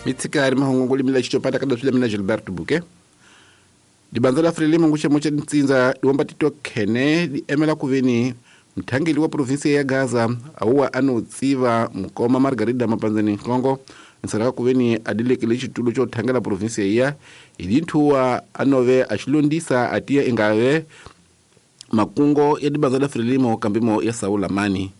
Mitsikari mahungu limila xitopata kada swile mina Gilberto Buke. Dibandza la Frelimo nguxemo xa ntsindza diwomba tito khene di emela kuveni mthangeli wa provinsi ya Gaza awuwa ano tsiva mukoma Margarida Mapanzani Nkongo nsaraka kuveni adilekele xitulo xo thangela provinsi ya hi dinthuwa anove a xilondisa atiya ingave makungo ya dibandza la Frelimo kambimo ya Saula Mani.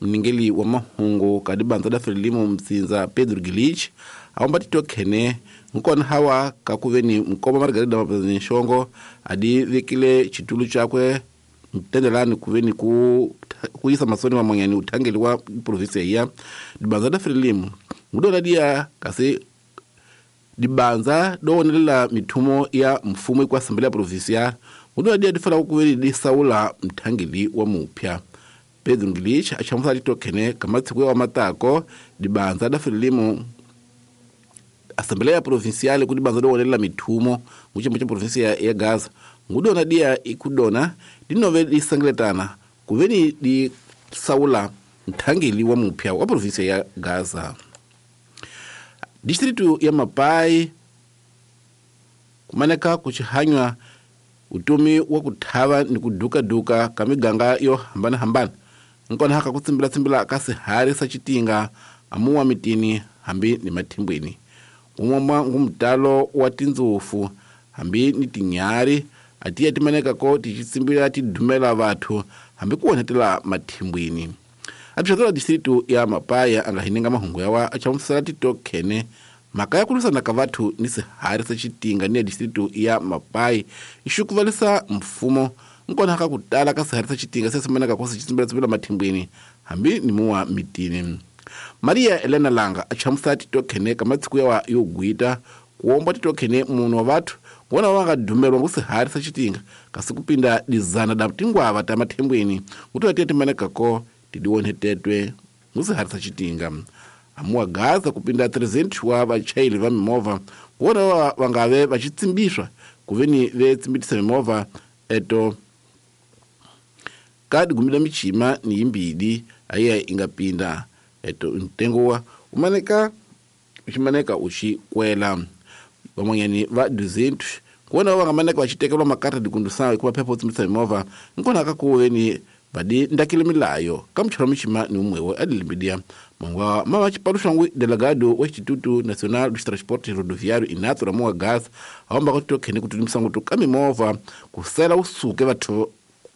Mningeli wa mahungu ka dibandza la Frelimo mtsinza Pedro Gilich awomba tito khene nkona hawa kakuveni mukoma Margarida Mapanzani Nxongo adi vekile xitulu xakwe mtendelani kuveni ku kuyisa masoni mamonyani uthangeli wa provinsi ya dibandza la Frelimo ngudola dia kasi dibanza dowonelela mithumo ya mfumo kwa Assembleia Provincial ngudola dia difala kuveni disaula mthangeli wa mupya. Pedro Gilich achamusa litokhene kamatsiku wa matako dibanza la Frelimo Assembleia Provincial ku dibanza dowonelela mithumo nguchimbo cha provinsia ya Gaza ngudona dia ikudona dinove disangletana kuveni di saula mthangeli wa mupya wa provinsia ya Gaza. Distritu ya Mapai kumaneka kuchihanywa utumi wa kuthava ni kuduka-duka ka miganga yo hambana-hambana nkona haka kutsimbila-tsimbila ka sihari sa xitinga amuwa mitini hambi ni mathimbweni umomwa ngumtalo wa tindzufu hambi ni tinyari atiya timaneka ko tixitsimbila tidumela vathu hambi ku onhetela mathimbweni. Administrador distritu ya Mapaya anga hininga mahungu yawa achamusela titokhene mhaka ya ku lwisana ka vathu ni sihari sa xitinga ni ya distritu ya Mapai ixukuvalisa mfumo nkona ka ku tala ka sihari sa xitinga se simaneka ko sixitsimbilatsimbila mathimbweni hambi ni muwa mitini. Maria Elena Langa achamusela titokhene ka matsiku yawa yo gwita kuomba titokhene munhu wa vathu ngona va nga dumelwa ngu sihari sa xitinga kasi kupinda dizana da tingwava ta mathimbweni ngutola tiya timaneka ko tidiwonhetetwe ngu sihari sa xitinga. Amuwa Gaza kupinda 300 wa vachayeli va mimovha ngona va ngave va xitsimbiswa kuveni ve tsimbitisa mimovha eto ka digumila michima ni yimbili ayiya inga pinda eto ntengo wa umaneka uximaneka uxi kwela van'wanyani va 200 kuona va nga maneka va xitekelwa makarta dikundusayo hikuva phepha u tsimbisa mimovha nkona ka kuveni vadi ndakile milayo ka muchelo michima ni umwewe adilimbidia mangwa mama chipalushangwi delegado wa Instituto Nacional dos Transportes Rodoviário Inato Ramoa Gas aomba kuti tokhene kuti misango ka mimovha kusela usuke vathu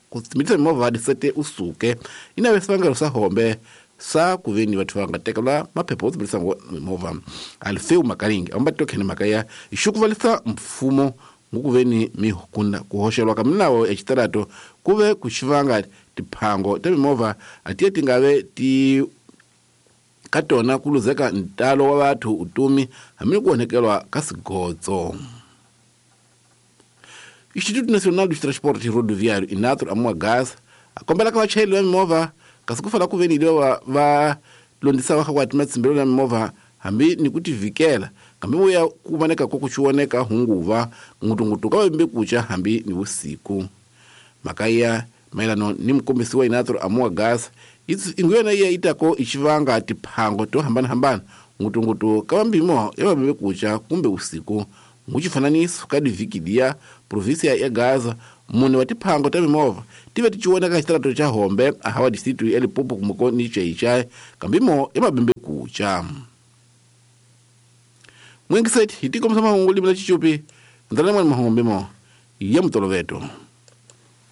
kutsimbisa mimovha disete usuke inave sivangelo sa hombe sa kuveni vathu va nga tekelwa maphepha wo tsimbisa mimovha. Alfeu Makaringi aomba tokhene mhaka ya ixukuvalisa mfumo ngukuveni mihukunda kuhoxelwa ka minawo ya xitarato kuve kuxivanga tiphango ta mimovha atiya tingave ti ka tona ku luzeka ntalo wa vathu utumi hambi ku onhekelwa ka sigotso. Instituto Nacional dos Transportes Rodoviário Inato Amoa Gas akombela ka vachayeli va mimovha kasi ku fana ku veni lewa va londisa va kha ku matsimbelo ya mimovha hambi ni ku tivikela kambe vuya ku voneka ko ku xioneka hunguva ngutungutu ka vembe kucha hambi ni vusiku. Mhaka ya mayelano ni mukombisi wa Inato Amoa Gas inguyona iya itako ixivanga tiphango to hambanahambana ngutungutu ka vambimo ya vambe kucha kumbe usiku. Nguxifananiso ka divhiki liya provinsia ya Gaza mune wa tiphango ta mimovha tive ti cioneka xitarato xa Hombe ahawa distritu ya Limpopo kumeko ni Xai kambimo ya mabembe kucha. Mwengiseti hi tikombisa mahungu limela xichupi ndzala mwana mahungu mbimo ya mutoloveto.